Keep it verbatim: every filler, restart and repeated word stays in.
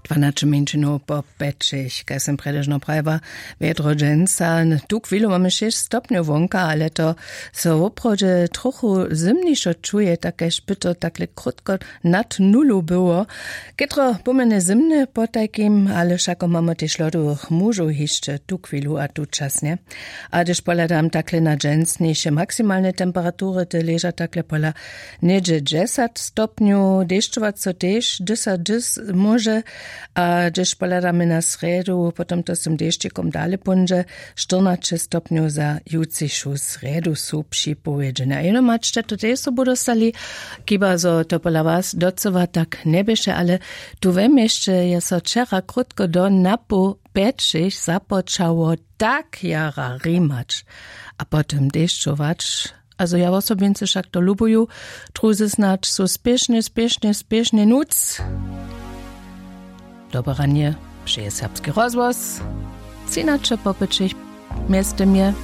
Dwanaće mjeńšinow po pjećich, kaž sym prjedy žno prajiła. Wjedro dźensa. Tu chwilu mamy šěsć stopnjow wonka, ale to so woprawdźe trochu zymnišo čuje, tak kaž by to takle krótko nad nulu było. Chětro pomjene zymne potajkim, ale wšako mamy tež lodowych mužow hišće tu chwilu a tučasnje. A hdyž pohladam takle na dźensnjejše maksimalne temperatury, te leža takle pola něhdźe dźesat stopnjow. Dešćować so tež dysa dys móže. A hdyž pohladamy na srjedu, potom to z tym dešćikom dale póńdźe. Štyrnaće stopnjow za jutřišu srjedu su připowědźene a jeno mačće to tež sobu dostali. Chiba zo to pola was docyła tak njeběše, ale tu we měsće je so wčera krótko do napoł pjećich započało tak jara rimać a potom dešćować. A zo ja wosobincy wšak to lubuju. Druzy snadź su spěšnje spěšnje spěšnje nuc. Dobre ranje. Přeje serbski rozhłos. Třinaće po pjećich. Mjeztym je